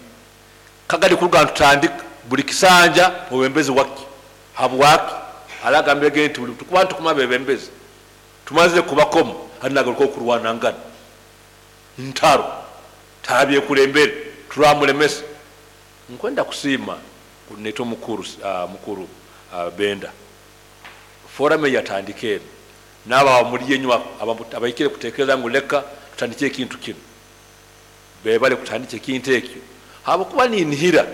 Kagadi kuruga ntutandika buli kisanja mubembezi waki. Habwaki alagambye ge nti buli tukuba ntukuma bebembezi tumaze kubakomo hati nagaruka okurwana ngana ntaro tabyekulembere turamulemesa. Nkwenda kusiima neto mukuru Benda, forum yatandika eno n'aba muli enyuma abaikire kutekereza ngu leka tutandike ekintu kino, bebale kutandika ekintu ekyo, habwokuba ninhira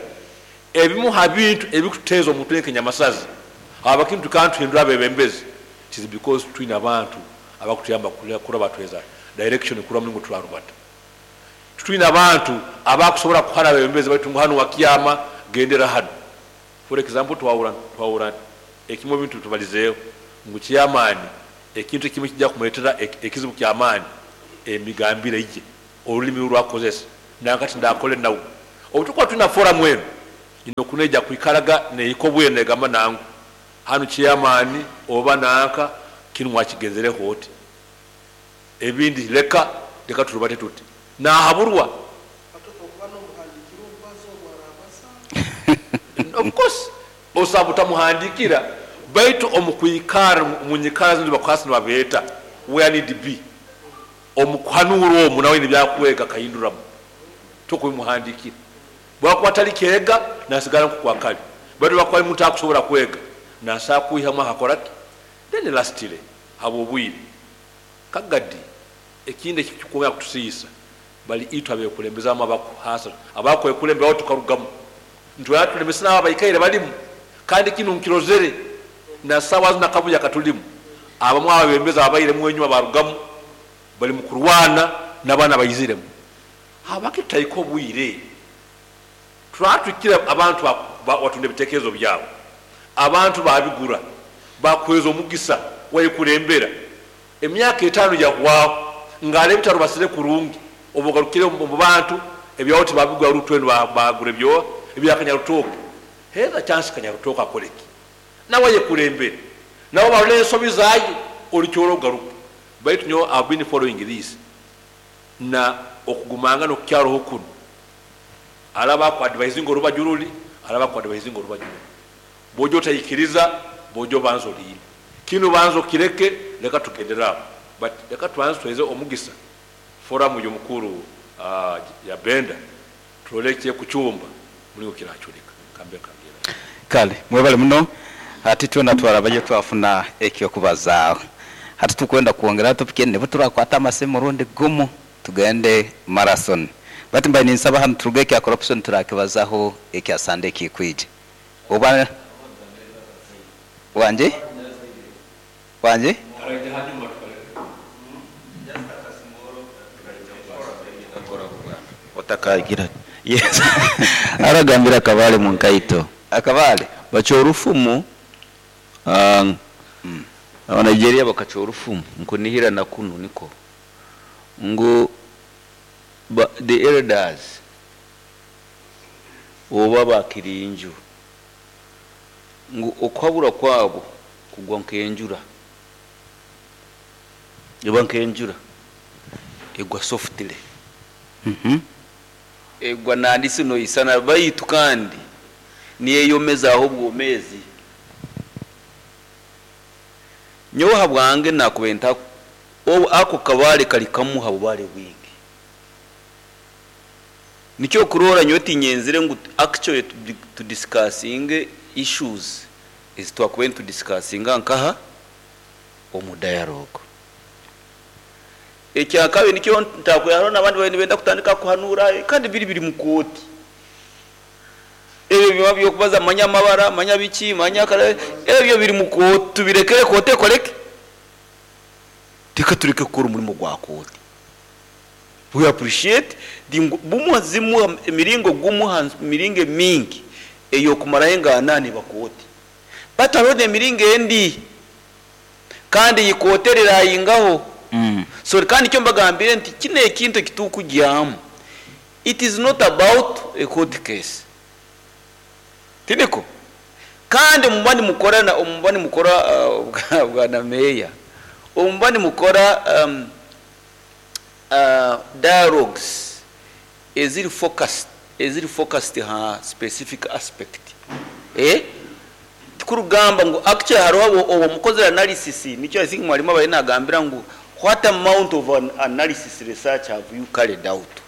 ebimu ha bintu ebikuteeza omuntu enkenyamasazi haba kintu kantuhindura abebembezi. It is because twine abantu abakutuyamba kuraba tweza direction kura mulingo turarubata. Twine abantu abakusobora kuhana abebembezi baitu ngu hano wakyama gendera hano. For example twahura twahura ekimwe ebintu tubalizeeho ngu chairman ekintu ekimwe ekijja kumuretera ekizibu kyamaani emigambire ye, orurimi oru akukozesa nanka tindakole nawe. Obu tukuba twina forum enu ine oku neija kwikaraga nehika obwire negamba nangu hanu chairman oba nanka kinu mwakigenzereho oti ebindi leka leka turubate tuti nahaburwa. Of course osaba butamuhandikira baitu omu kwikara omu nyikara zinu bakuhasi nibabeeta where need be omu kuhanuura omu nawe haine ebyakwega akahinduramu tokubimuhandikira bwakuba atari keega nasigara nkoku akari baitu bwakuba ari muntu akusobora kwega nasobola kwihamu akakora ki then lastly habwobwire Kagadi ekindi ekirikwongera kutusiisa bari itwe abekulembeze abamwe abakuhaasa abakwekulemberaho tukarugamu nitwenda tulemese naabo abaikaire barimu kandi kinu nkirozere na saawa zinu akavuyo akaturimu abamwe abebembezi ababairemu enyima barugamu bari mukurwana nabaana abaiziremu habwaki tutahika obwire Turaba tuhikire abantu watunda ebitekerezo byawe, abantu babigura, bakuhereza omugisa wayekurembera. Emyaka etano yahwaho ngara ebitarubasire kurungi, obu ogarukire omu bantu ebyawe tibabigura rutu enu bagura ebyoha ebya Kanyarutoke. Hereza chance Kanyarutoke akore ki? Nawe ayekurembere, nabo barole ensobi zaye orikyora ogaruke. Baitu nyowe I have been following this na okugumangana okukyaroho kunu. Araba aku advisinga orubaju ruri, araba aku advisinga orubaju ruri. Bwoija otaikiriza, bwoija obanza oriine. Kinu banza okireke, leka tugendere aho. But leka tubanze tuhereze omugisa forum y'omukuru ya Benda turole ekyekucumba muringo kiracurika. Kambe nkangira. Kale mwebale muno. Hati twena twarabayo twafuna eky'okubazaaho. Hati tukwenda kwongeraho topic endi nibwo turakwata amasimu omurundi gumu tugende marathon. Bati mbaire ninsaba hanu turuge ekya corruption turakibazaho ekya Sunday ekikwija. Oba Wangi? Wangi? Otakagira yes aragambira akabare mu nkaito. Akabare? Bacwa orufumu Aba Nigeria bakacwa orufumu nkunihira na kunu niko ngu the elders oba ba kirinju ngu okuhabura kwabo kugwa nk'enjura, eba nk'enjura egwa softly, egwa nandisi noisana baitu kandi neyomezaaho obwomezi. Nyowe habwange nakubaire nta obu ako kabare kari kamu ha bubare bwingi. Nikyo okuroora nyowe tinyenzire ngu actually tu discussinge issues ezi twakubaire nitu discussinga nkaha? Omu dialogue. Ekyakabiri nikyo ntakwiha hariho nabandi babaire nibenda kutandika kuhanuura kandi biri biri mu kooti. Ebyo byona by'okubaza manya amabara, manya biki, manya kare, ebyo biri mu kooti tubirekere kooti ekore ki? Reka tureke kukora omurimo gwa kooti. We appreciate the ngu bumwe zimwe emiringo gumwe aha miringo emingi ey'okumaraho enganani eba kooti. But hariho n'emiringo endi kandi ei kooti eriraayingaho. So kandi nikyo mbagambire nti kinu ekintu eki turikugyamu It is not about a court case. Tiniko? Kandi omuba nimukora na omuba nimukora bwana meeya, omuba nimukora dialogues eziri focused, eziri focused ha specific aspect. Eh? Tikurugamba ngu actually hariho obu obu omukozire analysis, nikyo I think mwarimu abaire nagambira ngu what amount of an analysis research have you carried out?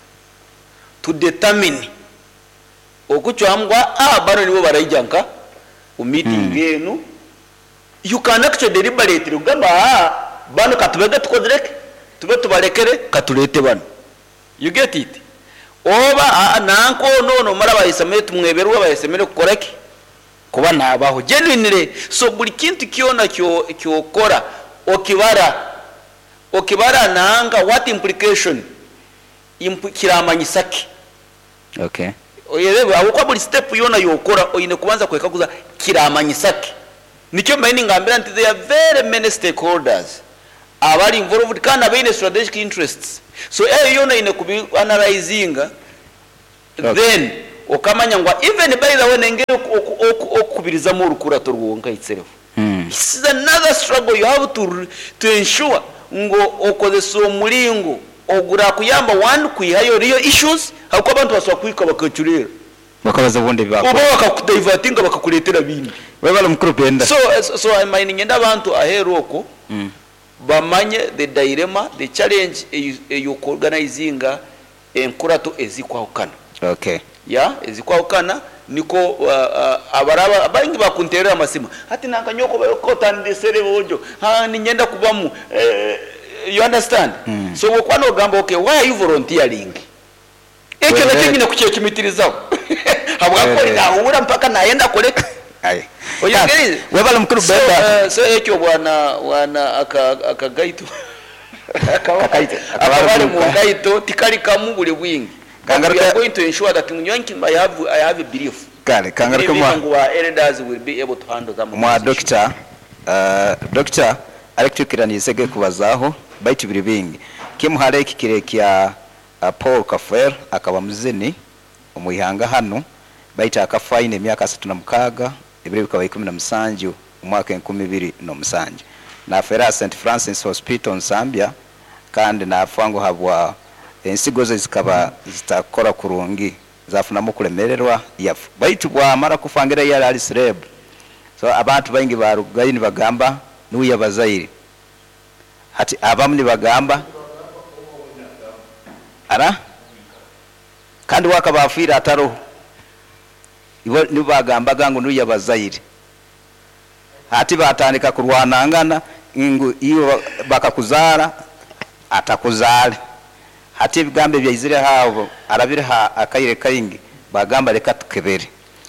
to determine okucwamu ngu aa banu nibo baraija nka omu meeting enu, you can actually deliberately kugamba aa banu katubege tukozire ki, tube tubarekere katureete banu, you get it? Oba aa nanka onu onu omara abayesemere tumweberwe abayesemere kukora ki, kuba nabaho genuinely, so buri kintu kyona kyokora okibara, okibara nanka what implication Impu kiramanyisa ki? Okay. Oyereebe ahabw'okuba buri step yoona y'okora oine kubanza kwekaguza kiramanyisa ki? Nikyo mbaire ningambira nti there are very many stakeholders abari involved kandi abaine strategic interests so eyo yoona oine kubi analyzinga then okamanya ngu even by the way nengeri okukubirizamu orukurato rwonka itself it's is another struggle you have to to ensure ngu okozesa omuringo ogurakuyamba one kwihayo real issues ahabw'okuba abantu basobola kuhika bakacureera. Bakabaza obundi ebi Oba baakora. bakakudivertinga bakakureetera bindi. Webale mukuru Benda. So so I my niinyenda abantu aheeru okwo bamanye the dilemma, the challenge ey'oku organizinga enkurato ezikwahukana. Okay. Yeah, ezikwahukana nikwo abaraba baingi bakunteerera amasimu, hati nanka nyowe ku otandisire boojo, haa niinyenda kubamu, you understand? So obu okuba noogamba okay why are you volunteering? Ekyo nakyo nyine kukyecumitirizaho habw'okuba ori nahuura mpaka nayenda akore ki? Oyegerize? Webale mukuru So, Benda. so ekyo bwana bwana aka akagaito akaba Kakaito, akaba akaba ari ari mu mu ngaito tikari kamu buri bwingi. But we Kangaruke are going to ensure that nyowe nki I have I have a belief. Kale I kangaruke believe mwa ngu ba elders will be able to handle some of mwa those issues. Dokita Dokita arikutukiranise ge kubazaaho baitu biri bingi. Kimu hali eki kiri ekya Paul Kafeero akaba muzini omu ihanga hanu baitu akafa aine emyaka 36, ebiro bikaba 17 omwaka 2007. Nafeera aha St Francis Hospital Nsambya kandi nafa ngu habwa ensigo ze zikaba zitakukora kurungi zafunamu okulemererwa yafa. Baitu bwamara kufa ngira yali ali celeb so abantu baingi barugayo nibagamba nuwe yabazaire. Hati abamu nibagamba ara kandi we akaba afiire ataroho, ibo nibo bagambaga ngu nuwe yabazaire. Hati batandika kurwanangana ngu iwe bakakuzaara atakuzaale. Hati ebigambo ebyaizire aho arabire ha akaire kaingi bagamba leka tukebere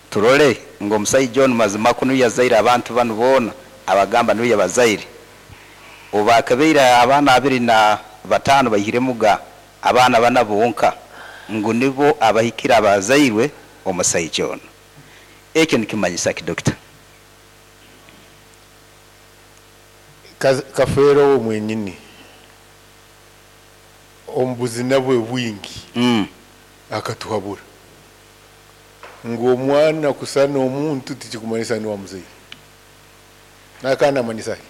turole ngu omusaija onu mazima ku nuwe yazaire abantu banu boona abagamba nuwe yabazaire. Obu baakebeire abaana 25 baihiremuga abaana bana bonka ngu nibo abahikire abazairwe omusaija onu. Ekyo nikimanyisa ki Dokita? Kafeero we mwenyini omu buzina bwe bwingi akatuhabura ngu omwana kusana omuntu tikikumanyisa niwe amuzaire. Akaba namanyisa ki?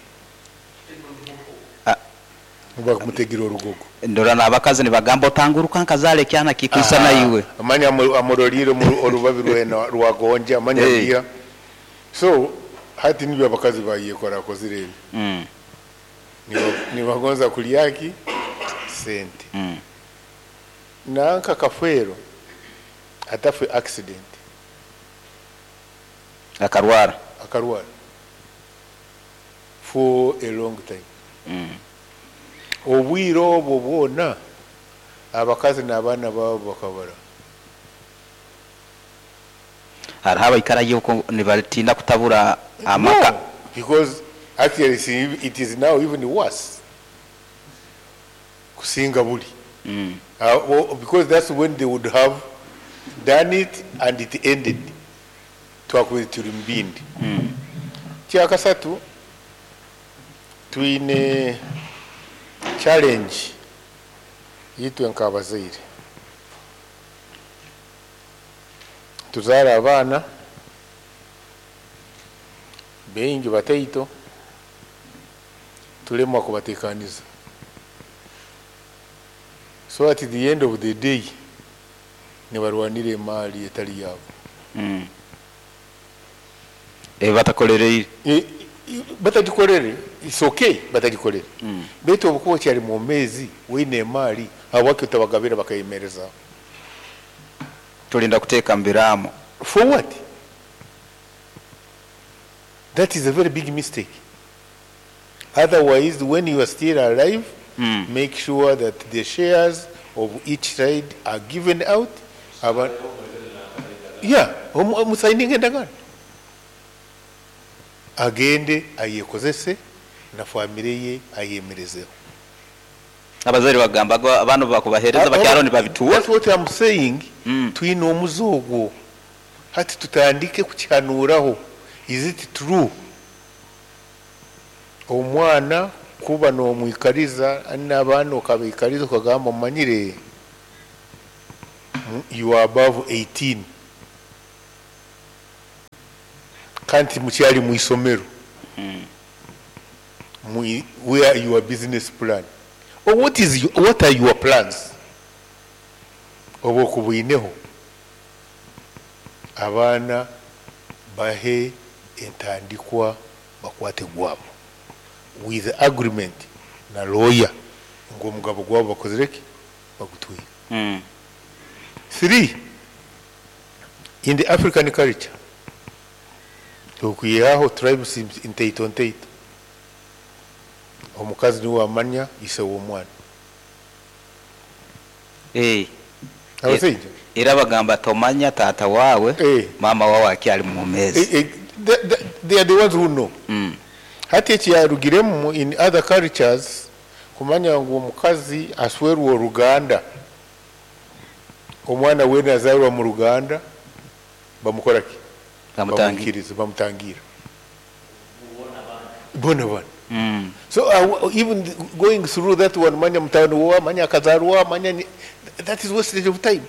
Bamutegire orugogo. Ndora n'abakazi nibagamba otanguruka nkazaara ekyana kikwisana iwe. Manya amurorire orubabi rwena rwagonja manya biha. So hati nibyo abakazi bayekora akozire ebi. Nibagonza kurya ki? Sente. Nanka Kafeero atafe accident. Akarwara. Akarwara for a long time. Obwire obwo bwona abakazi n'abaana baabo bakabara. Hariho abaikarayo okwo nibatiina kutabura amaka. No, because actually it is now even worse kusinga buri. Because that's when they would have done it and it ended. Twakubaire turi mu bindi. Kyakasatu, twine challenge itwe nk'abazaire. Tuzaara abaana baingi bataito, tulemwa kubateekaniza. So at the end of the day, nibarwanira emaali etari yaabo. Ebi batakorereire. Batagikorere, it's okay batagikorere. Beitu obu okuba okyari mwomeezi oine emaali, habwaki otabagabira bakayemerezaho? Tulinda kuteeka mu biraamo. For what? That is a very big mistake. Otherwise, when you are still alive, make sure that the shares of each side are given out. Aba, yeah, omusayininga endagaano. Agende ayekozese na famire ye ayemerezeho. Abazaire bagamba ngu abaana obu bakubaheereza bakyaro nibabituura. That's what am saying, twine omuze ogwo hati tutandike kukihanuuraho, is it true omwana kuba nomwikariza n'abaana okabaikariza okagamba omanyire you are above 18 kandi timukyari mwishomero where your business plan or what is what are your plans obu okubwineho abaana bahe entandikwa bakwate gwabo with agreement na lawyer ngu omugabo gwabo bakozire ki bagutwire. Three, in the African culture okwihaho tribes ntaito ntaito omukazi niwe amanya ise w'omwana. Eh. Abasaija? Era bagamba tomanya taata wawe maama wawe akyali mwomeezi. They are the ones who know. Hati ekiyarugiremu in other cultures kumanya ngu omukazi aswerwa oruganda, omwana weena azaarwa mu ruganda bamukora ki? Bamwikiriza, bamutangira. Bona bana. So even going through that one, manya mutano wa, manya akazarwa, manya ni, that is wastage of time.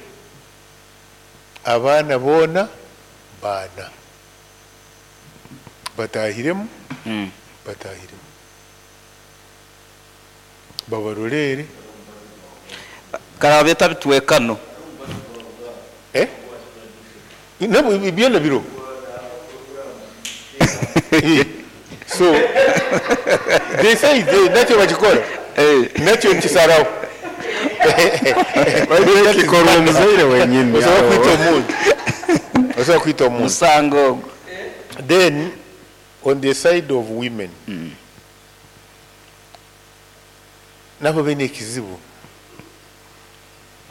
Abaana boona baana. Batahiremu, batahiremu. Babaroleere. Karabe tabitwekano. Eh? Nabo byona biro. So they say they nakyo bakikora. Nakyo nikisaraho. Kikorwa omuzaire wenyini. Osobola kwita omuntu. Osobola kwita omuntu. Musango. Then on the side of women. Nabo baine ekizibu.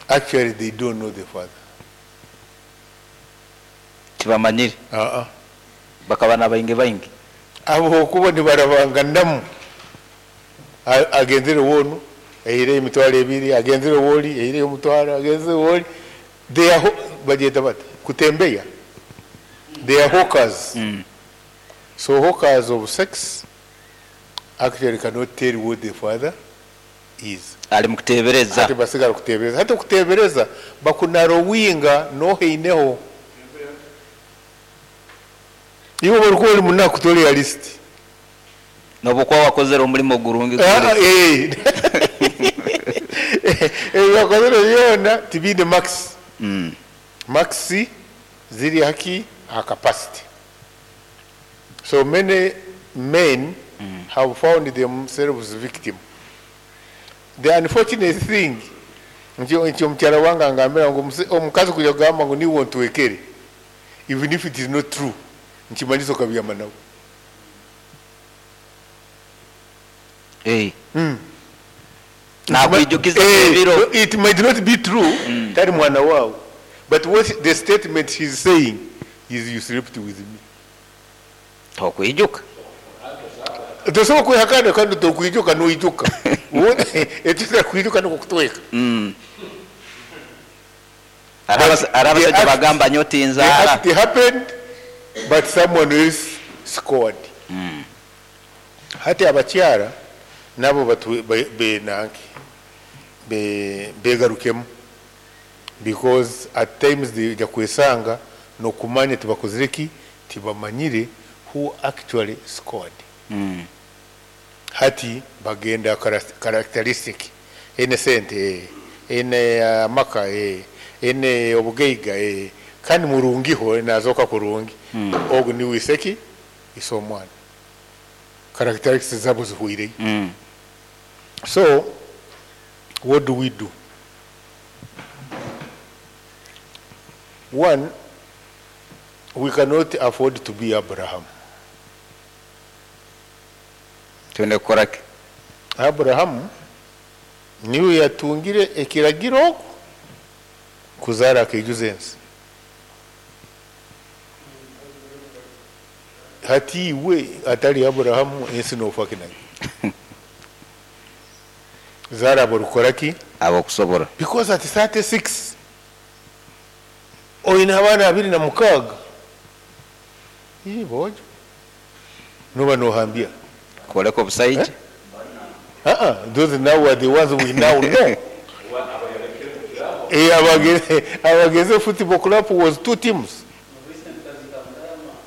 Actually they don't know the father. Tibamanyire. Bakaba nabaingi baingi. Abo okuba nibarabanganamu. Agenzere wonu, eire emitwaro ebiri, agenzere woli, eire omutwaro, agenzere woli. They are bagyeta bati kutembeya. They are hawkers. So hawkers of sex actually cannot tell what the father is. Ali mukutebereza. Ati basigara kutebereza. Hati okutebereza bakunarowinga noheineho. Iwe barikuba ori munaku tori realist. Nobu okuba wakozere omurimo gurungi guri. Ebi wakozere byona tibiine marks. Marks ziri haki aha capacity. So many men have found themselves victim. The unfortunate thing nti omukyara wange angambira ngu omukazi kuija kugamba ngu niiwe ontwekere even if it is not true nikimanyisa okabyama nawe. Nakwijukiza ebiro. It might not be true, tari mwana waawe but what the statement he is saying is you slept with me. Tokwijuka. Tosobola kwehakana kandi tokwijuka noijuka. Eki otakwijuka nikwo kutweka. Hariho abashaija bagamba nyowe tinzaara. The act happened but someone else scored. Hati abakyara nabo benanki begarukemu because at times baija kwesanga nokumanya tibakozire ki tibamanyire who actually scored. Hati bagenda characteristic eine sente, eine amaka, eine obugaiga kandi murungiho nazoka kurungi. Ogu niwe iseki ise omwana. Characteristics zabo zihwireyo. So what do we do? One, we cannot afford to be Abraham. Twine kukora ki? Abrahamu niwe yatungire ekiragiro oku kuzaara akaijuza ensi. Hati iwe atari Abrahamu ensi nofa ki nayo? Zaara aborikukora ki? Abokusobora. Because at 36 oine abaana 26, ii boojo, noba nohambya. Kworeka obusaija. Eh? Uh-uh, those now are the ones we now know. Eh, Abageze, Abageze Football Club was two teams.